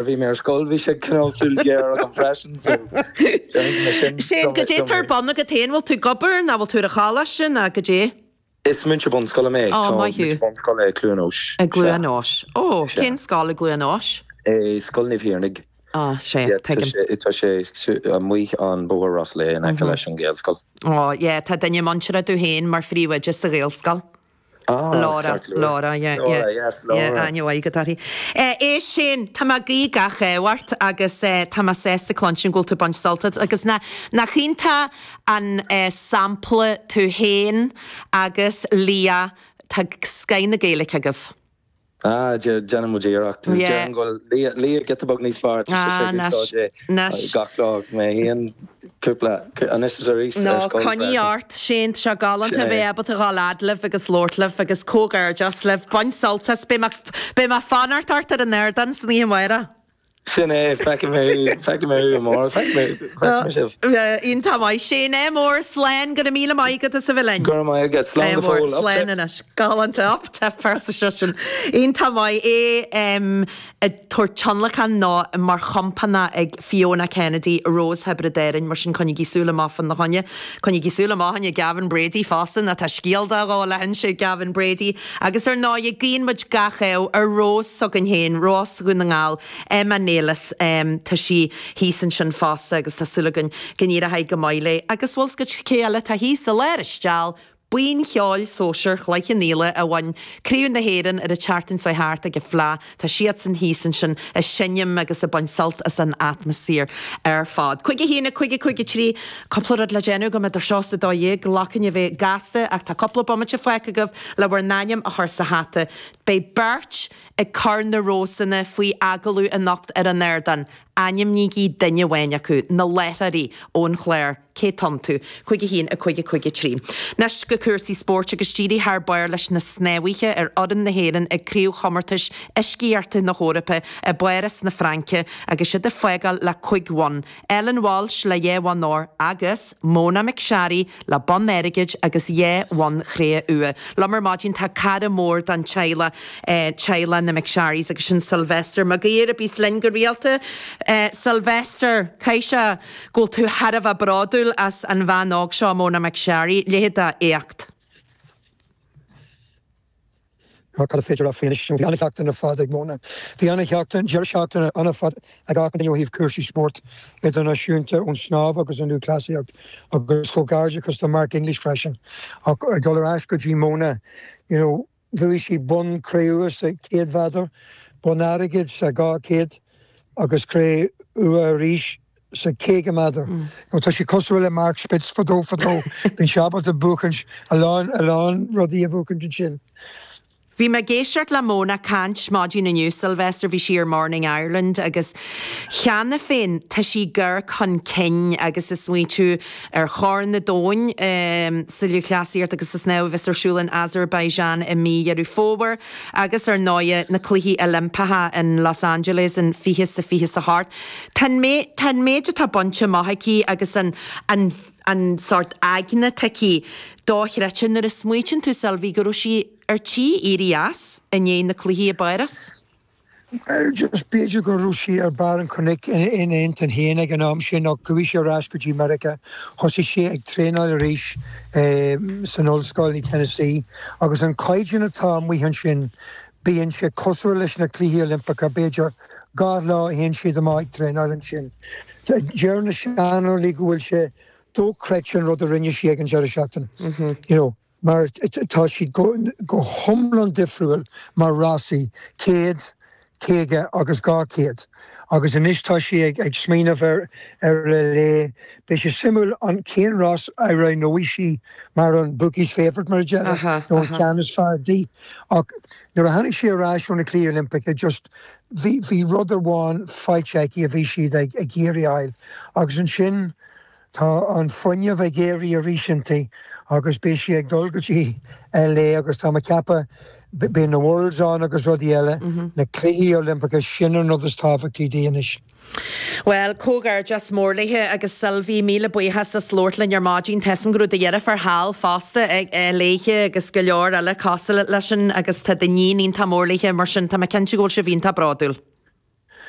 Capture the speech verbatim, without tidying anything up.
Bhí mé ar scoil bhí sé cineál súil ghéar agam freisin so Shane, goidé tá ar bun agat féin bhfuil tú ag obair nó bhfuil tú ar an choláiste nó goidé? Is múinteoir bunscoile mé Ó, maith thú. Múinteoir bunscoile i Cluain Eois. I gCluain Eois. Ó, cén scoil i gCluain Eois? Scoil Naomh Thiarnaigh. Á, sea, tuigim. Tá sé amuigh an bóthar Roslea in aice leis an Ghaelscoil. Ó, yeah, tá duine muinteartha domh féin mar phríomhoide sa Ghaelscoil. Ah, Laura, Laura, yeah, Laura, yeah. yes, Laura. Yeah, aithne mhaith agat uirthi. Eh, éist Shane, tá mé ag guí gach ádh ort agus eh, tá mé sásta cluinstin go bhfuil tú ag baint sult as agus na, nach iontach an eh, sampla tú féin agus Leah, tá scoth na Gaeilge agaibh. Ah, déanann muid iarracht. Yeah. Déarfainn go bhfuil Leah Leah giota beag níos fearr, tá Ah, sise ag anois, úsáid é anois. gach lá, mé féin cúpla, anois is arís No, ar scoil coinnigh freisin. ort, Shane, tá sé galánta Sin é. bheith ábalta dhul fhad libh agus labhairt libh agus comhghairdeas libh. Bain sult as, beidh mé, beidh mé ag fanacht ort ar an ardán san oíche amárach. Sin é, feicfidh mé, feicfidh mé thú amárach, feicfidh mé, feicfidh mé sibh. Iontach maith, Shane, ádh mór, slán, go raibh míle maith agat as a bheith linn. Go raibh maith agat, slán Ádh go mór, fóill, up slán tip. anois, galánta, up tip arsa seisean. Iontach maith é ag tabhairt tionlacan nó mar chompánach ag Fiona Kennedy, Rós Thiobraid Árann, mar sin coinnigí súil amach fána choinne. Coinnigí súil amach fá choinne Gavin Brady fosta, nó tá scéal de dhul le hinse ag Gavin Brady. Agus ar ndóigh, guíonn muid gach ádh ar Rós s'againn féin, Rós Dhún na nGall, Emma Nelis, tá sí thíos ansin fosta agus tá súil againn go n-éireoidh go maith léi. Agus bhfuil 's agat cé eile atá thíos i lár an steall, Buíon Cheoil Sóisir Chloich Cheann Fhaola a bhain Craobh na hÉireann ar an tseachtain seo thart ag an Fleadh. Tá siadsan thíos ansin ag seinm agus ag baint sult as an atmaisféar ar fad. Cúig a haon a cúig a cúig a trí, cúpla rud le déanamh agam idir seo is a dó dhéag, glacann a bheith gasta ach tá cúpla bomaite fágtha agaibh le bhur n-ainm a chur sa hata. Beidh beirt ag cur na rósanna faoi agallamh anocht ar an ardán. Ainmnígí duine amháin acu, na láithreoirí ón chlár, cé atá iontu? Cúig a haon a cúig a cúig a trí. Anois go cúrsaí spóirt agus d'éirigh thar barr leis na snámhaithe ar fhoireann na hÉireann ag Craobhchomórtais Uiscíochta na hEorpa i bPáras na Fraince agus iad ag fágáil le cúig bhonn, Ellen Walshe le dhá bhonn óir agus Mona McSharry le bonn airgid agus dhá bhonn chré-umha. Liom ar maidin tá cara mór don teaghlach, teaghlach na McSharrys agus sin Sylvester Mag Uidhir a bíos linn go rialta. Sylvester, caithfidh sé go bhfuil tú thar a bheith bródúil as an bhean óg seo, Mona McSharry, leithéid d'éacht. Cad is féidir a rá faoi anois? Bhí an-sheachtain ar fad ag Mona. Bhí an-sheachtain, deireadh seachtaine an-fhada ag achan duine ó thaobh cúrsaí spóirt idirnáisiúnta ón snámh agus an lúthchleasaíocht agus comhghairdeachas do Mark English freisin. Ach ag dul ar ais go dtí Mona, you know, bhuaigh sí bonn cré-umha sa chéad mhéadar, bonn airgid sa dhá chéad agus cré-umha arís sa caoga méadar. Nó tá sí cosúil le Mark Spitz fadó fadó. Bíonn sé ábalta buachaint a lán a lán rudaí a bhuachaint ansin. Bhí mé ag éisteacht le Mona caint maidin inniu, Sylvester, bhí sí ar Morning Ireland agus cheana féin tá sí ag amharc chun cinn agus ag smaointiú ar Chorn an Domhain sa lúthchleasaíocht agus sa snámh a bheas ar siúl in Azerbaijan i mí Dheireadh Fómhair agus ar ndóigh na Cluichí Oilimpeacha in Los Angeles in fiche is a fiche is a hocht. Tá an tá an méid atá bainte amach aici agus an an an sórt aigne atá aici dochreidte nuair a smaoitíonn tú Sylvie go raibh sí ar tí éirí as i ndiaidh na cluichí i bPáras. Well, just b'fhéidir go raibh sí ar barr an chnoic ina intinn féin ag an am sin ach chuaigh sí ar ais go dtí Meiriceá. Thosaigh sí ag traenáil arís san ollscoil i Tennessee agus an caighdeán atá amuigh ansin, bíonn sé cosúil leis na Cluichí Oilimpeacha, b'fhéidir dhá lá a théann siad amach ag traenáil ansin. Deir na saineolaí go bhfuil sé dochreidte an rud a rinne sí ag an deireadh seachtaine. You know, mar tá siad go go hiomlán difriúil mar rásaí, céad, caoga agus dhá chéad. Agus anois tá sí ag ag smaoineamh ar ar LA. Beidh sé suimiúil an cén rás a roghnóidh sí mar an bookies favourite mar a déarfá, nó an ceann is fearr di. Ach nuair a tháinig sí ar ais ó na Cluichí Oilimpeacha just bhí bhí rud amháin faighte aici a bhí siad ag ag iarraidh a fháil. Agus ansin Tá an fuinneamh ag éirí arís inti agus beidh sí ag dul go dtí LA agus tá mé ag ceapadh beidh na Worlds ann agus rudaí eile, na Cluichí Oilimpeacha, sin an rud is tábhachtaí di anois. Bhuel, comhghairdeas mór léi agus Sylvie, míle buíochas as labhairt linn ar maidin. Tá 'fhios a'm go raibh do dheirfiúr thall fosta léithe agus go leor eile cosúil leis sin agus tá d'iníon iontach mór léithe mar sin tá mé cinnte go bhfuil sibh iontach bródúil.